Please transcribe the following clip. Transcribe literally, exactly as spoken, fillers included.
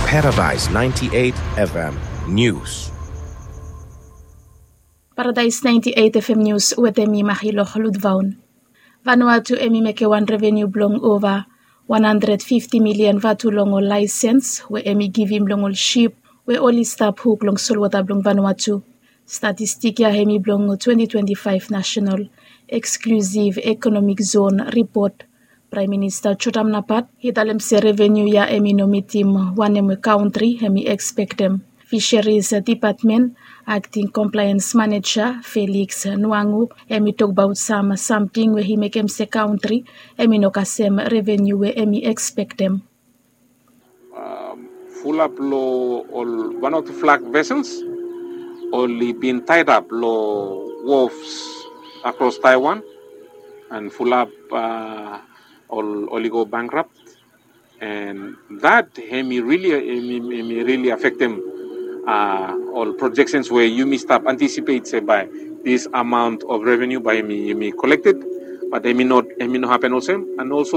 Paradise ninety-eight F M News. Paradise ninety-eight F M News wetem mi Mahiloh Ludvaun. Vanuatu hemi meke wan revenu blong ova wan handred fifti milian vatu long ol laesens we hemi givim long ol sip we oli stap huk long solwota blong Vanuatu. Statistik ya hemi blong twenti twenti faef National Exclusive Economic Zone Report. Praem Minista Jotam Napat i talem se revenu ya hemi no mitim wanem we kaontri hemi ekspektem. Fisheries Dipatmen akting komplaens maneja Felix Nuangu hemi tokbaot sam samting we i mekem se kaontri hemi no kasem revenu we hemi ekspektem. Fulap long ol Vanuatu flag vessels oli bin tied up long wharfs across Taiwan, and fulap oli go bankrupt, and that hemi really hemi really affectem ol projections we yumi stap anticipate se by this amount of revenue by hemi collected, but hemi not hemi no happen olsem, and also